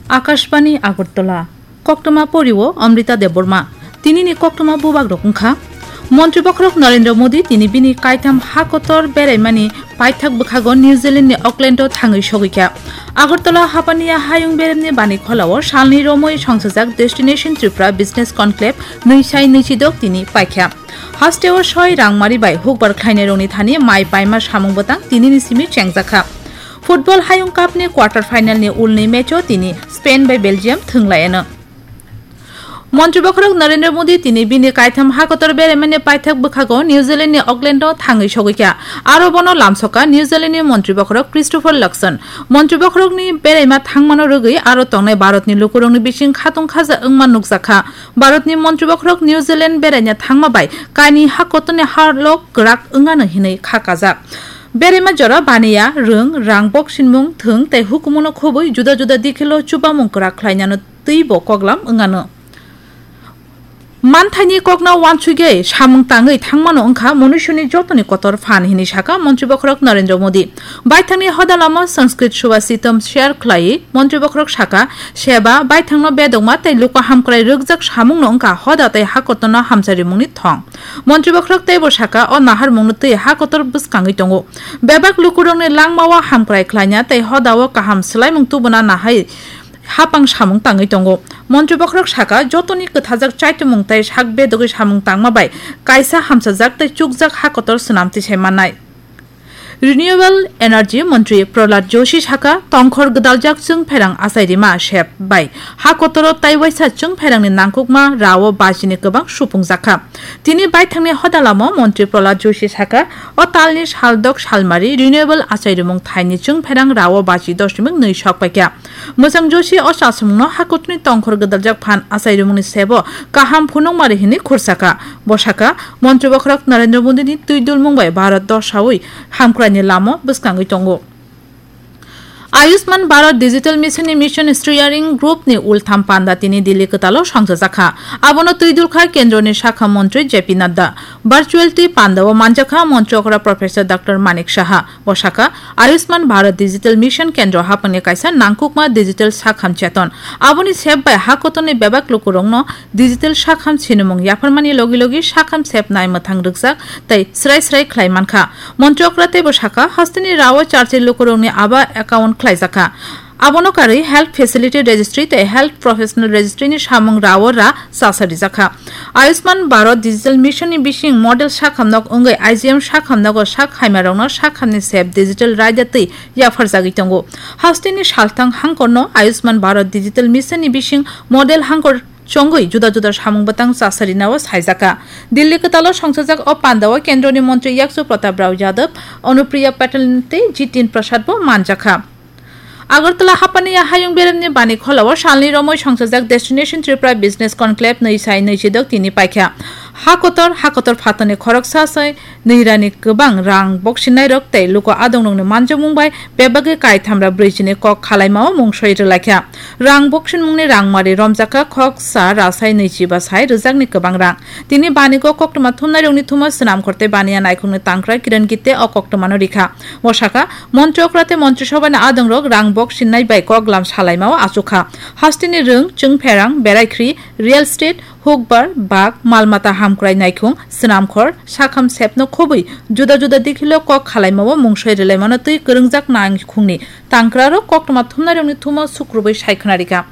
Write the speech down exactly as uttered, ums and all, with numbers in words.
Akashbani Agartala. Koktwma porio Amrita Debbarma. Tinini koktwma bubagrok wngkha: Montri bokhorok Narendra Modi tini bini kaitham ha kotor beraimani paithak bwkhago New Zealand ni Auckland o thangwi sogwikha. Agartala hapaniya hayung beremni bani kholao salni romwi songsajak Destination Tripura Business Conclave nwi sai nwi chidok tini paikha. Hasteo soi rangmari bai hukbar khlainairokni thani mai paima samung bwtang tinini simi chengjakha. Football Hayung Cup ni quarter final ni ulni match o tini Spain bai Belgium thwnglaiyano. Montri bokhorok Narendra Modi tini bini kaitham ha kotor beraimani paithak bwkhago New Zealand ni Auckland o thangwi sogwikha. Aro bono lamsokha New Zealand ni montri bokhorok Christopher Luxon. Montri bokhorokni beraima thangmano rwgwi aro tongnai Bharatni lukurokni bising khatung khaja wngma nukjakha. Bharatni montri bokhorok New Zealand beraina thangma bai kaini ha kotorni halok kwrak wngano hinwi kha kajak. Beraima jora baniya, rwng, rang boksinmung, thwng tei hukumungo khobwi juda juda dikhilo chubamung kwrak khlainano twibo koklam wngano. Manthaini kokno uansugwi samung tangwi thangmano wngkha munuisuni jotoni kotor phan, hinwi sakha montri bokhorok Narendra Modi. Baithangni hoda lama Sanskrit Subhashitam share khlaiwi montri bokhorok sakha, seba, baithangno bedokma tei luku hamkrai rwkjak samungno wngkha hoda tei hakotorno hamcharimungni thong. Montri bokhorok teibo sakha, o naharmungno twi hakotor bwskangwi tongo. Bebak lukurokni langmao hamkrai khlaina tei hodao kaham swlaimung tubuna nahai hapang samung tangwi tongo. Montri bokhorok sakha, jotoni kwthajak chaitumung tei sak bedogwi samung tangma bai kaisa hamchajak tei chukjak hakotor swnam tisai mannai. Renewable Energy Montri Prahlad Joshi sakha, tongkhor gwdaljak chwngpherang achairima sep bai ha kotoro tei waisa chwngpherangni nangkukma rao bajini kwbang supungjakha. Tini baithangni hodalamo Montri Prahlad Joshi sakha, o talni saldok salmari renewable achairimung thaini chwngpherang rao baji doshmik nwi sok paikha. Mwchang Joshi o chasumungno hakutni tongkhor gwdaljak phan achairumungni sebo kaham phunukmari hinwi khursakha. Bo sakha, montri bokhorok Narendra Modini twi dulmung bai Bharat dosaui hamkraini lamo bwskangwi tongo. Ayushman Bharat Digital Mission ni Mission Steering Group ni ultham panda tini Delhi kwtalo songchajakha. Abono twi dulkha kendroni sakha montri J P Nadda. Virtual twi pandao manjakha montri okra Professor Doctor Manik Saha. Bo sakha, Ayushman Bharat Digital Mission kendro haphangni kaisa nangkukma digital sakham cheton. Aboni sep bai ha kotorni bebak lukurokno digital sakham sinimung yapharmani logi logi sakham sep nai mwthang rwkjak tei srai srai khlai mankha. Montri okra teibo sakha, hasteni rao charchi lukurokni aba account khlaijakha. Abono karwi Health Facility Registry tei Health Professional Registry ni samung rao ra chasa rijakha. Ayushman Bharat Digital Mission ni bising model sakhamnok wngwi I G M sakhamnogo sak haimarokno sakhamni sep digital raida twi yapharjagwi tongo. Hasteni salthang hangkorno Ayushman Bharat Digital Mission ni bising model hangkor chongwi juda juda samung bwtang chasarinao saijakha. Delhi kwtalo songchajak o pandao kendroni montri Yakchu Pratap Rao Yadav, Anupriya Patel tei Jitin Prasad bo manjakha. Agartala hapaniya hayung beremni bani kholao salni romwi songchajak Destination Tripura Business Conclave nwi sai nwi chidok tini paikha. Ha kotor, ha kotor phatarni khoroksa sai nwi rani kwbang rang boksinairok tei luku adongrokni manjakmung bai bebagwi kaithamra brwichini kok khalaimao mungsoi rwlaikha. Rang boksinmungni rangmari romjakha khoksa rasai nwi chiba sai rwjakni kwbang rang. Tini banigo koktwma thumnairokni thumo swnamkhor tei baniya naikhungni tangkra Kiran Gitte o koktwmano rikha. Bo sakha, montri okra tei montri sobhani adongrok rang boksinnai bai koklam salaimao achukha. Hasteni rwng, chwngpherang, beraikhri, real estate, hukbar, bag, mal mata hamkrai naikhung, swnamkhor, sakham sepno khobwi juda juda dikhilo kok khalaimao mungsoi rwlaimano twi kwrwngjak naikhungni tangkrarok koktwma thumnairokni thumo sukrubwi sai khwnarikha.